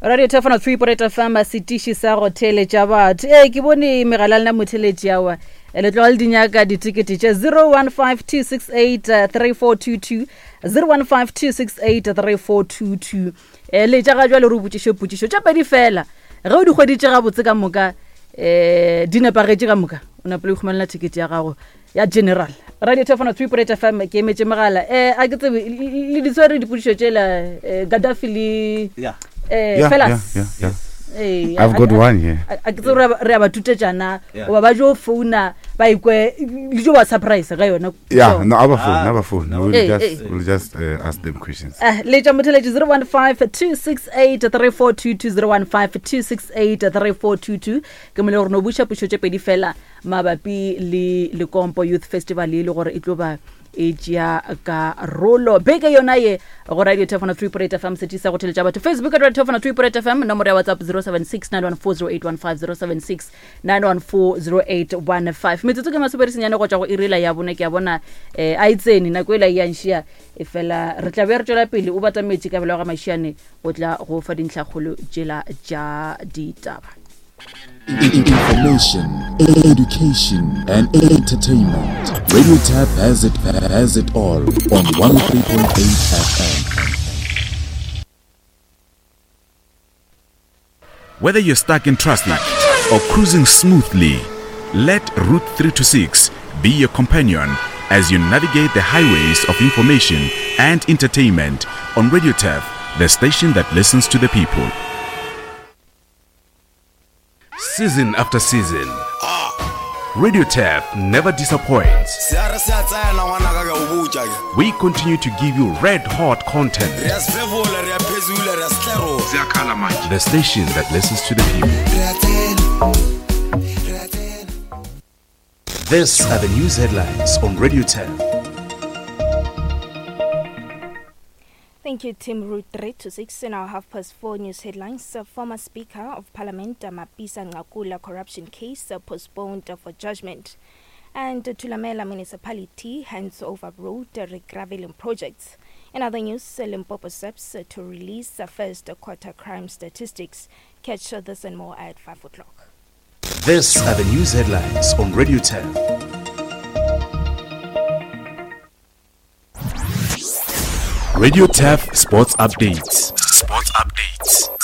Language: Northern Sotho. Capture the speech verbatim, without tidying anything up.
Radio Tefano three point eight F M, setiši sa go theeletša batho. Ee, ke bone megala lena motheeletši awa. Le tloga le di nyaka ditikete tše zero one five two six eight three four two two, zero one five two six eight three four two two. Eh, le tša ga jwale re o botšiše potšišo tša pedi fela. Ge o di hweditše gabotse ka moka, eh, di nepagetše ka moka, o napile o ikhumanela ticket ya gago ya general. Radio Tefano three point eight F M, ke emetše megala. Eh, a ke tsebe, le di tshwere dipotšišo tšela, eh, Gaddafi le, Yeah. eh, Yeah, fellas. yeah, yeah, yeah. Eh, I've a- got a- one here. a-, a ke tsebe re a ba-, re a ba tutetšana, Yeah. goba ba jo founa, ba ikwe, le jo ba surprise ka yona. Yeah, So no, our phone, Ah, our phone. no. We'll Eh, just, eh. we'll just, uh, ask them questions. Eh, le tša motheletši zero one five two six eight three four two two, zero one five two six eight three four two two. Ke mo le gore no buša pušo tše pedi fela mabapi le Lekompo Youth Festival e le gore e tlo ba e tšea karolo beke yona ye go Radio Tefano three point eight F M, seti sa go theletša batho. Facebook at Radio Tefano three point eight F M, nomoro ya WhatsApp zero seven six nine one four zero eight one five, zero seven six nine one four zero eight one five. Metsotso ke masomepedi senyane go tšwa go iri la ya bone, ke a bona, eh, a e tsene nako ela e yang šia, e fela re tla be re tšwela pele o batametše kabelo ya ga Mašiane go tla go fa dintlhakgolo tšela tša ditaba. Information, education, and entertainment. Radio Tap has it, has it all on one oh three point eight F M. Whether you're stuck in traffic or cruising smoothly, let Route three two six be your companion as you navigate the highways of information and entertainment on Radio Tap, the station that listens to the people. Season after season, Radio Tap never disappoints. We continue to give you red hot content. The station that listens to the people. These are the news headlines on Radio Tap. Thank you, Tim. Route three to six in our half past four news headlines. Uh, former Speaker of Parliament, uh, Mapisa Nqakula corruption case, uh, postponed, uh, for judgment. And, uh, Thulamela Municipality hands over road, uh, regraveling projects. In other news, uh, Limpopo S A P S, uh, to release, uh, first quarter crime statistics. Catch, uh, this and more at five o'clock. These are the news headlines on Radio ten. Radio T A F Sports Updates. Sports Updates.